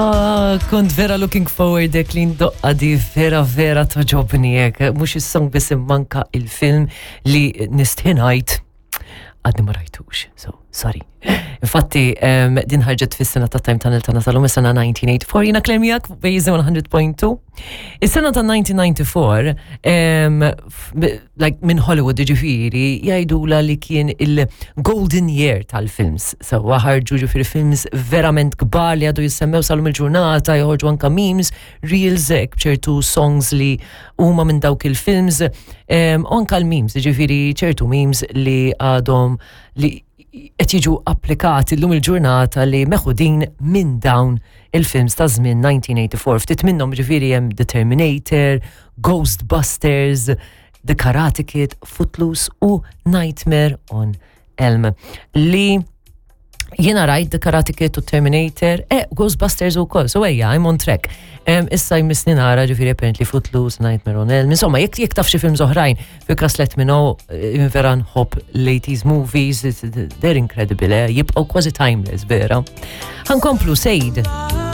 Ah, kont vera looking forward dek li ndoqqa di vera vera toġobni hekk, mhux is-song biss immanka il-film li nistħinajt għadni ma rajtux, so sorry. Infatti, um, din ħarġet fis-sena ta' Time Tunnel tagħna tal-lum is-sena 1984, jiena Claire miegħek bejn 100.2. Is-sena ta' 1994, um, like minn Hollywood ġifiri, jgħidula li kien il-golden year tal-films. Sewa ħarġu ġifiri films verament kbar li għadu jissemmew sal-lum il-ġurnata, joħorġu anka memes, reels, ċertu songs li huma minn dawk il-films, u anka l-memes, ġifiri ċertu memes li għadhom li qed jiġu applikati llum il-ġurnata li meħudin minn dawn il-films ta' żmien 1984. Ftit minnhom ġifieri hemm The Terminator, Ghostbusters, The Karate Kid, Footloose u Nightmare on Elm. Li jiena rajt The Karate Kid u Terminator, eh, Ghostbusters u koll, so ejja, I'm on track. Um, issa jmissni nara ġifiri apparently Footloose, Nightmare on Elm, insomma, jek jek taf xi films oħrajn, fi kas let me know, eh, vera nħobb l-80s movies, they're incredible, eh, jibqgħu kważi timeless, vera. Ħankomplu, Sejd.